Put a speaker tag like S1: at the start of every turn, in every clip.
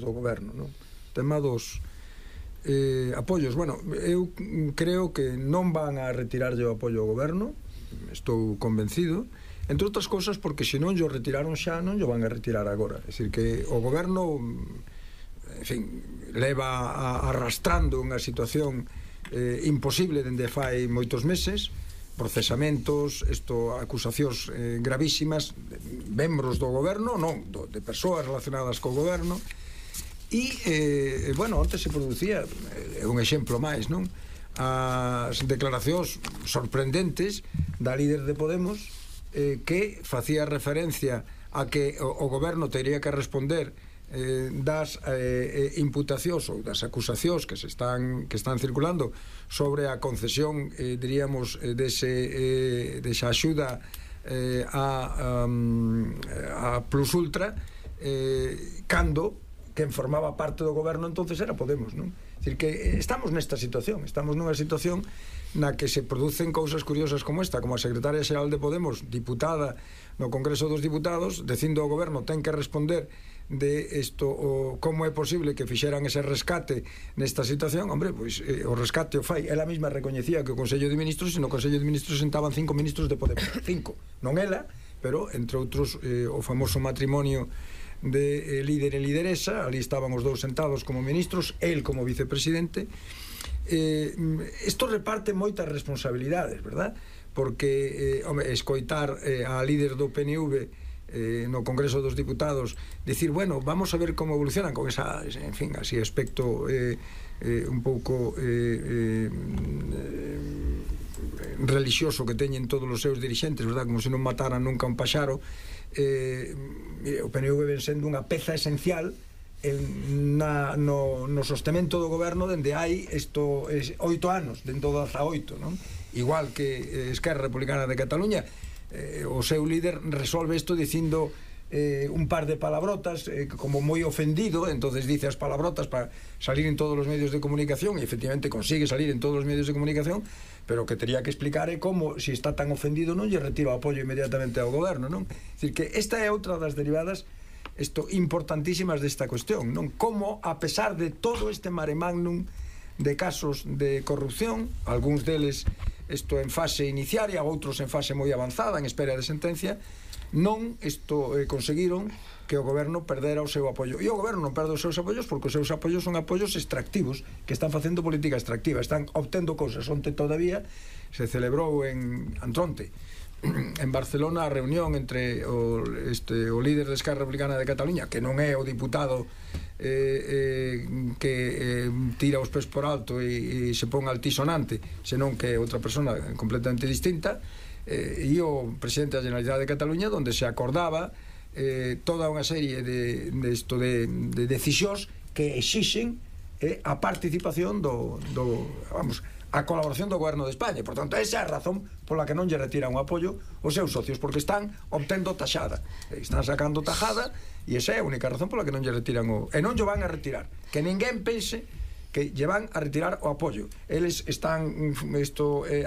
S1: do goberno, non? Tema dos apoios. Bueno, eu creo que non van a retirarlle o apoio ao goberno, estou convencido, entre outras cousas porque se non o retiraron xa, non o van a retirar agora. É dicir, que o goberno, en fin, leva arrastrando unha situación imposible dende fai moitos meses, procesamentos, acusacións gravísimas de membros do goberno, non, de persoas relacionadas co goberno. E, bueno, onte se producía un exemplo máis, non? As declaracións sorprendentes da líder de Podemos que facía referencia a que o goberno teria que responder das imputacións ou das acusacións que están circulando sobre a concesión, diríamos, desa axuda a Plus Ultra, cando quen formaba parte do goberno entonces era Podemos, non? É dicir, que estamos nesta situación, estamos nunha situación na que se producen cousas curiosas como esta, como a secretaria xeral de Podemos, diputada no Congreso dos Diputados, dicindo ao goberno ten que responder de isto, como é posible que fixeran ese rescate nesta situación. Hombre, pois o rescate o fai, ela mesma recoñecía que o Consello de Ministros, e no Consello de Ministros sentaban 5 ministros de Podemos, 5, non ela, pero entre outros o famoso matrimonio de líder e lideresa, ali estaban os dous sentados como ministros, el como vicepresidente. Isto reparte moitas responsabilidades, verdad? Porque, escoitar a líder do PNV no Congreso dos Diputados dicir, bueno, vamos a ver como evolucionan con esa, en fin, así aspecto un pouco relixioso que teñen todos os seus dirixentes, verdad? Como se non mataran nunca un paxaro. O PNV ven sendo unha peza esencial no sostemento do goberno dende hai 8 anos, dende o 18, non? Igual que Esquerra Republicana de Cataluña, o seu líder resolve isto dicindo un par de palabrotas, como moi ofendido, entonces dice as palabrotas para salir en todos os medios de comunicación, e efectivamente consigue salir en todos os medios de comunicación, pero que teria que explicar é como, se está tan ofendido, non lle retira o apoio inmediatamente ao goberno, non? É dicir, que esta é outra das derivadas importantísimas desta cuestión, non? Como, a pesar de todo este mare magnum de casos de corrupción, algúns deles en fase iniciaria, outros en fase moi avanzada, en espera de sentencia, non conseguiron que o goberno perdera o seu apoio. E o goberno non perde os seus apoios porque os seus apoios son apoios extractivos, que están facendo política extractiva, están obtendo cousas. Onte todavía se celebrou antronte en Barcelona a reunión entre o líder de Esquerra Republicana de Cataluña, que non é o diputado que tira os pés por alto e se pon altisonante, senón que é outra persona completamente distinta, e o presidente da Generalitat de Cataluña, onde se acordaba toda unha serie de decisións que exixen a participación a colaboración do goberno de España. Por tanto, esa é a razón pola que non lle retiran o apoio os seus socios, porque están obtendo taxada, están sacando tajada, e esa é a única razón pola que non lle retiran e non lle van a retirar. Que ninguén pense que lle van a retirar o apoio. Eles están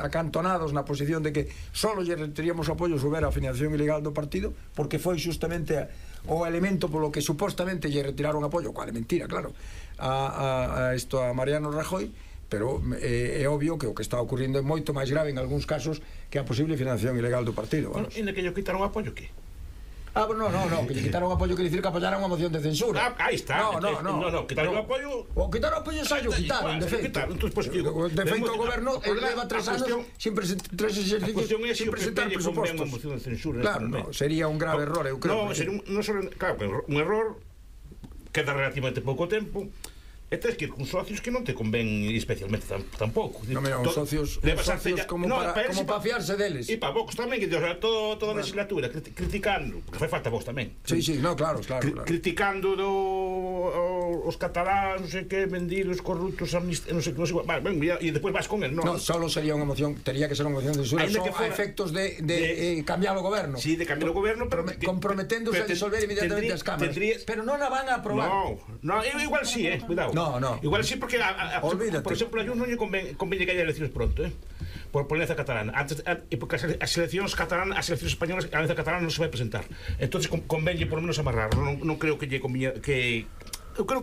S1: acantonados na posición de que só lle retiraríamos o apoio se houbera a financiación ilegal do partido, porque foi justamente o elemento polo que supostamente lle retiraron apoio, cual é mentira, claro, a Mariano Rajoy. Pero é obvio que o que está ocurrindo é moito máis grave en algúns casos que a posible financiación ilegal do partido.
S2: E na que lle quitaron o apoio, que?
S1: No, que lle quitaron o apoio quer dicir que apoyaran unha moción de censura.
S2: Aí está. No, quitaron o apoio.
S1: O quitaron o apoio xa o quitaron, de feito. De feito o goberno leva 3 anos sin presentar presupostos. Claro, sería un grave error, eu creo.
S2: No, sería un error que dá relativamente pouco tempo. E tens que ir con socios que non te convén especialmente tampouco.
S1: Non, mira, os socios como para fiarse deles.
S2: E para vos tamén, que toda a legislatura criticando, porque fai falta vos tamén.
S1: Sí, no, claro.
S2: Criticando os cataláns, non sei que, vendidos, corruptos, non sei que, e depois vas con el, non?
S1: Non, solo sería unha moción, tería que ser unha moción de censura, son a efectos de cambiar o goberno.
S2: Sí, de cambiar o goberno,
S1: comprometéndose a disolver inmediatamente as cámaras. Pero non a van a aprobar.
S2: No, igual sí, cuidado.
S1: No.
S2: Igual sí, porque por exemplo a Junts non lle convén que haya eleccións pronto, por alianza catalana, porque as eleccións catalanas, as eleccións españolas, a alianza catalana non se vai presentar. Entonces convén por lo menos amarrar. Non creo que lle convén, que eu creo que